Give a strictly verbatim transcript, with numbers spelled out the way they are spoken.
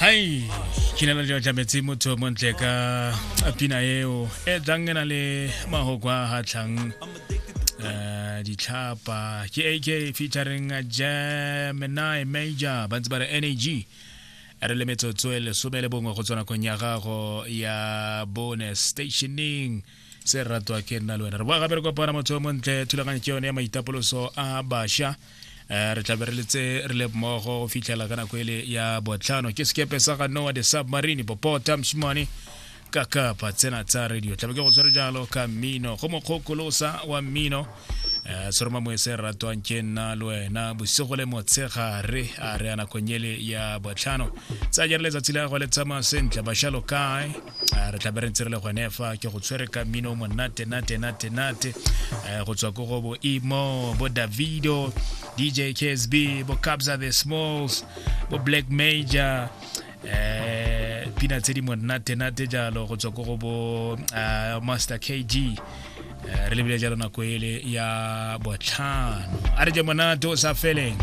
Ai ke ne le tlametse motho montle ka pina eo e tlang e na le mahoko a hatlhang eh ditlhapa ke A K featuring Gemini Major ba ntse ba re N A G re le metsotso e lesome le bongwe go tswa nakong ya gago ya bone stationing se ratwa ke nna le wena re boa gape re kopana motho o montle thulaganyo ke yone ya maitapoloso a bašwa. Re tla be re letse re le mmogo go fitlhela ka nako ele ya botlhano ke sekepe sa ga Noah the Submarine popota moshimane ka kapa tsena tsa radio tlabe ke go tshwere jalo ka mmino go mokgokolosa wa mmino eh seroma moe se ratwang ke nna le wena bosigo le motshegare a re a nakong ele ya botlhano tsa jare letsatsi la gago le tsamaya sentle bašwa lo kae re tla be re ntse re le gone fa ke go tshwere ka mmino monate nate nate nate go tswa ko go bo Imo bo Davido D J K S B bo Kabza the Smalls bo Black Major eh pina tse di monate nate jalo go tswa ko go bo Master K G re lebile jalo nako ele ya botlhano a re je monate o sa feleng.